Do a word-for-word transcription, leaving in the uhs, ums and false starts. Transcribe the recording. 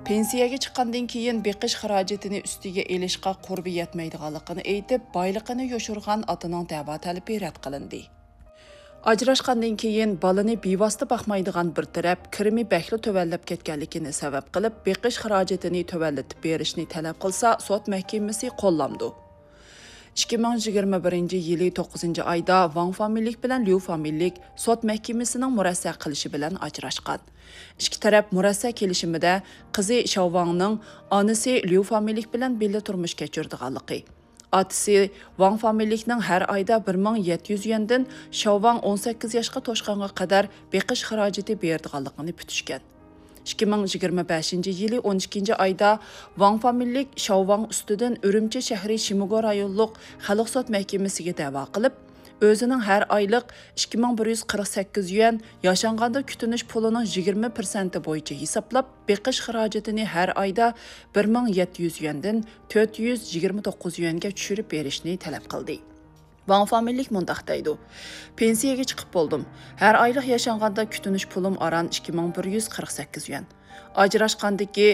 پېنسىيەگە چىققاندىن كېيىن بېقىش خىراجىتىنى ئۈستىگە ئېلىشقا قۇربى يەتمەيدىغانلىقىنى ئېيتىپ، بايلىقىنى يوشۇرغان ئاتىنىڭ دەۋا تەلىپى رەت قىلىندى. ئاجراشقاندىن كېيىن بالىنى بىۋاسىتە باقمايدىغان بىر تەرەپ كىرىمى بەكلا تۆۋەنلەپ كەتكەنلىكىنى سەۋەب قىلىپ، بېقىش خىراجىتىنى تۆۋەنلىتىپ بېرىشنى تەلەپ قىلسا، سوت مەھكىمىسى قوللامدۇ. ئىككى مىڭ يىگىرمە بىرىنچى يىلى توققۇزىنچى ئايدا ۋاڭ فامىلىلىك بىلەن ليۇ فامىلىلىك سوت مەھكىمىسىنىڭ مۇرەسسە قىلىشى بىلەن ئاجراشقان. ئىككى تەرەپ مۇرەسسە كېلىشىمىدە قىزى شاۋاڭنىڭ ئانىسى ليۇ فامىلىلىك بىلەن بىللە تۇرمۇش كەچۈرىدىغانلىقى، ئاتىسى ۋاڭ فامىلىلىكنىڭ ھەر ئايدا بىر مىڭ يەتتە يۈز يۈەندىن شاۋاڭ ئون سەككىز ياشقا توشقانغا قەدەر بېقىش خىراجىتى بېرىدىغانلىقىنى پۈتۈشكەن. ئىككى مىڭ يىگىرمە بەشىنچى يىلى ئون ئىككىنچى ئايدا ۋاڭ فامىلىلىك شاۋاڭ ئۈستىدىن ئۈرۈمچى شەھىرى شىمىگو رايونلۇق خەلق سوت مەھكىمىسىگە دەۋا قىلىپ، ئۆزىنىڭ ھەر ئايلىق ئىككى مىڭ بىر يۈز قىرىق سەككىز يۈەن، ياشانغاندا كۈتۈنۈش پۇلىنىڭ يىگىرمە پىرسەنتى بويىچە ھېسابلاپ، بېقىش خىراجىتىنى ھەر ئايدا بىر مىڭ يەتتە يۈز يۈەندىن تۆت يۈز يىگىرمە توققۇز يۈەنگە چۈشۈرۈپ بېرىشنى تەلەپ قىلدى. ۋاڭ فامىلىلىك مۇنداق دەيدۇ: پېنسىيەگە چىقىپ بولدۇم. ھەر ئايلىق ياشانغاندا كۈتۈنۈش پۇلۇم ئاران ئىككى مىڭ بىر يۈز قىرىق سەككىز يۈەن. ئاجراشقاندىكى